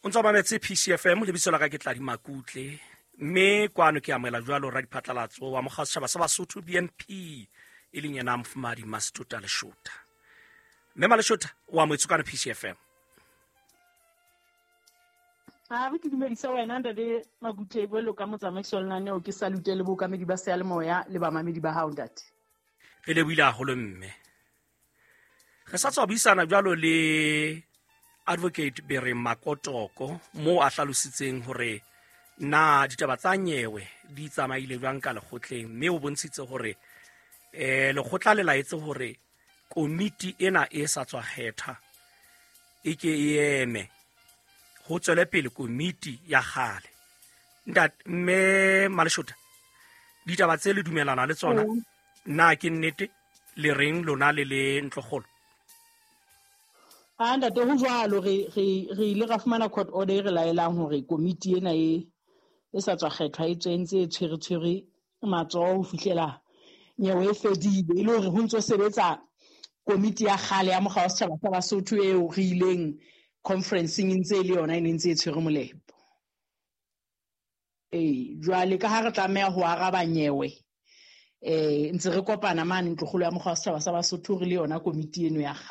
O ntse o mametse PCFM, lebitso la ka ke Tladi Makutle, mme kwano ke amohela jwalo radiphatlalatso wa mokga setjhaba sa Basotho BNP, e leng yena Mofumahadi Masitota Leshota. Mme Maleshota, o amohetswe kwano PCFM. Ha re ke dumedise wena ntate Makutle jwalo ka motsamaisi wa lenaneo, ke salute le bookamedi ba seyalemoya le bamamedi ba hao ntate. Re lebohile haholo mme. Re sa tswa buisana jwalo le Advocate Bere Makotoko moo a hlalositseng hore na ditaba tsa nyewe di tsamaile jwang ka lekgotleng, mme o bontshitse hore lekgotla le laetse hore komiti ena e sa tswa kgetha e ke e eme ho tswele pele komiti ya kgale. Ntate mme Maleshota, ditaba tse le dumelana le tsona na ke nnete? Le reng lona le le ntlokgolo? A ntate, ho jwalo, re ile ra fumana court order e re laelang hore komiti ena e sa tswa kgethwa e tswe ntse e tshwere matsoho ho fihlela nyewe e fedile, e le hore ho ntso sebetsa komiti ya kgale ya mokga wa setjhaba sa Basotho eo re ileng conferenceng e ntse e le yona e ne ntse e tshwere molepo. Ee, jwale ka ha re tlameha ho araba nyewe, ntse re kopana mane ntlokgolo ya mokga wa setjhaba sa Basotho re le yona komiti eno ya kgale.